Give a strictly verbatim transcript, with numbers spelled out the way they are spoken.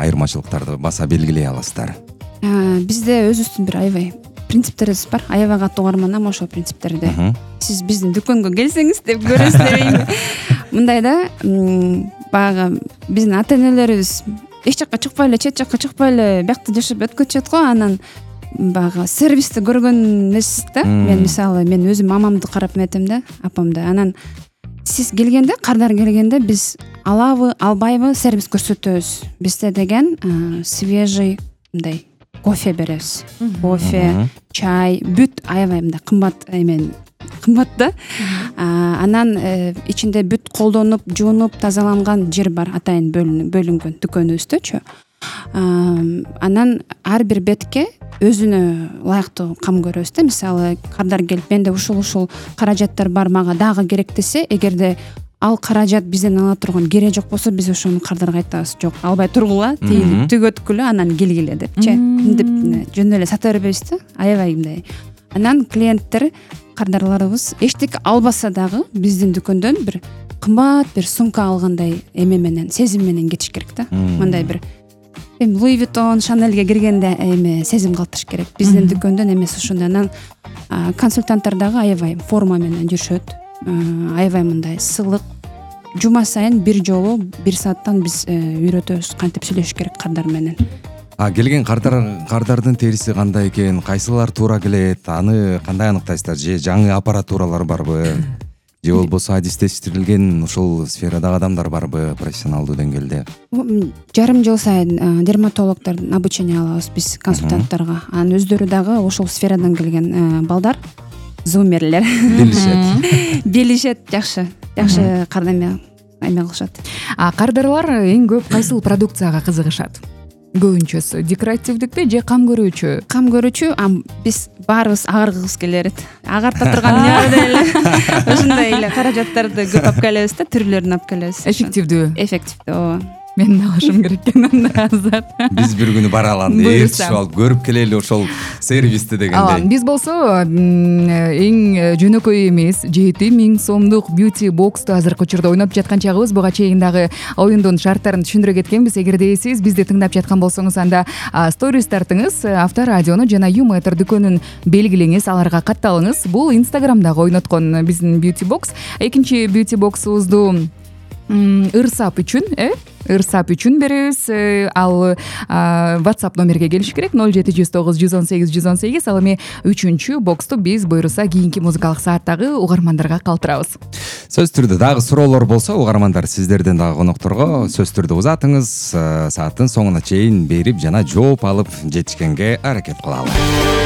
айырмачылыктарды баса белгилей аласыздар? Бизде өзүбүздүн бир аябай принциптерибиз бар. Аябай катуу угарман ошол принциптерди сиз биздин дүкөнгө келсеңиз деп көрөсүздөр. Мындай да, баягы биздин ата-энелерибиз эч жакка чыкпай эле, чет жакка чыкпай эле биякта жашап өткөчүөт го. Анан баягы сервисти көргөн эмес да. Мен мисалы мен өзүм мамамды карап эметем да, апамды. Анан сиз келгенде, кардар келгенде биз алабы, албайбы сервис көрсөтөбүз. Бизде деген свежий мындай кофе беребиз. Кофе, чай, бүт аябай мындай кымбат эмен кымбат да. Анан ичинде бүт колдонуп, жуунуп, тазаланган жер бар, атайын бөлүнгөн дүкөнүбүздөчү. Анан ар бир бетке өзүнө ылайыктуу кам көрөбүз да. Мисалы, кардар келип, менде ушул-ушул каражаттар бар, мага дагы керек десе, эгерде ал каражат бизден ала турган кереги жок болсо, биз ошону кардарга айтабыз. Жок, албай тургула, тегип төгөткүлө, анан келгиле депчи. Мынтип жөн эле сата бербейбиз да. Аябай мындай. Анан клиенттер, кардарларыбыз эчтеке албаса дагы биздин дүкөндөн бир кымбат бир сумка алгандай эме менен, сезим менен кетиш керек да. Мындай бир эми Луи Виттон, Шанельге киргенде эме сезим калтырыш керек. Биздин дүкөндөн эмес ошондой. Анан консультанттар дагы аябай форма менен жүрүшөт. Аябай мындай сылык. Жума сайын бир жолу бир сааттан биз үйрөтөбүз кантип сүйлөшүш керек кардар менен. А келген кардар кардардын териси кандай экен, кайсылар туура келет, аны кандай аныктайсыздар? Же жаңы аппаратуралар барбы? Же болбосо адистештирилген ушул сферадагы адамдар барбы профессионалдуу деңгээлде? Жарым жыл сайын дерматологдордун обучение алабыз биз консультанттарга. Анын өздөрү дагы ошол сферадан келген балдар, зумерлер. Билишет. Билишет, жакшы. Жакшы кардаме эме кылышат. А кардарлар эң көп кайсыл продукцияга кызыгышат? Көбүнчөсү декоративдикпи же кам көрүүчү? Кам көрүүчү. Биз баарыбыз агаргыбыз келет. Агарта турган нерде эле ошондой эле каражаттарды көп алып келебиз да, түрлөрүн алып келебиз. Эффективдүү. Эффективдүү, ооба. Мен алышым керек экен анда азыр. Биз бир күнү бара алалы, ээрчип алып көрүп келели ошол сервисти дегендей. Биз болсо эң жөнөкөй эмес жети миң сомдук beauty box'ту азыркы учурда ойноп жаткан чагыбыз. Буга чейин дагы оюндун шарттарын түшүндүрө кеткенбиз. Эгерде сиз бизди тыңдап жаткан болсоңуз, анда сторис тартыңыз, Авторадиону жана Юмэтр дүкөнүн белгилеңиз, аларга катталыңыз. Бул Инстаграмдагы ойноткон биздин beauty box. Экинчи beauty box'убузду ырсап үчүн, э? ырсап үчүн беребиз. Ал WhatsApp номерге келиш керек ноль жети жүз тогуз жүз он сегиз жүз он сегиз. Ал эми үчүнчү боксту биз буюрса кийинки музыкалык сааттагы угармандарга калтырабыз. Сөз түрдө дагы суроолор болсо, угармандар сиздерден дагы конокторго сөз түрдө узатыңыз, сааттын соңуна чейин берип жана жооп алып жетишкенге аракет кылалы.